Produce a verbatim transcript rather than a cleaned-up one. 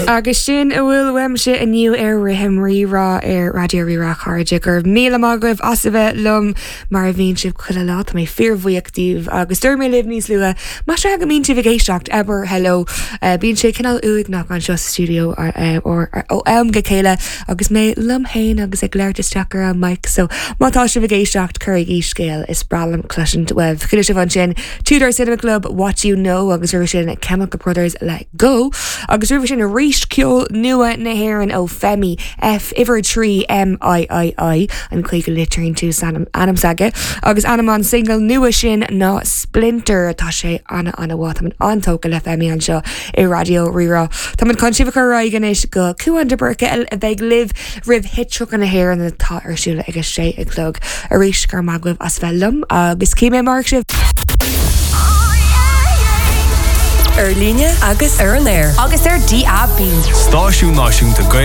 Agus sin a bhfuil uaimse inniu ar Rithim Rí-Rá ar Raidió Rí-Rá chairde go raibh míle maith agaibh as a bheith liom mar a bhíonn sibh chuile lá Tá mé fíorbhuíoch díobh agus dúirt mé libh níos luaithe Más ea go mbíonn sibh ag éisteacht abair hello uh, bíonn sé cineál uaigneach anseo sa studio uh, ó am go chéile agus mé liom féin agus ag labhairt isteach ar an mic so má tá sibh ag éisteacht cuirigí scéal is breá liom cloisint uaibh. Chuala sibh ansin Two Door Cinema Club What You Know agus roimhe sin Chemical Brothers Let Go agus roimhe sin arís ceol nua na hÉireann ó Femi F uimhir trí MIII an chuig litrín tú ainm s'aige agus ainm an single nua sin ná Splinter tá sé ana ana-mhaith an-tógtha le Femi anseo i Raidió Rí-Rá. Tá an chun sibh chur anois go Cuan de Burca a bheidh libh roimh Hit tríocha na hÉireann atá ar siúl ag a sé a chlog arís go raibh maith agaibh as bheith liom agus cím mar sibh. Ar líne agus ar an aer. Agus ar DAB. Stáisiún náisiúnta Gael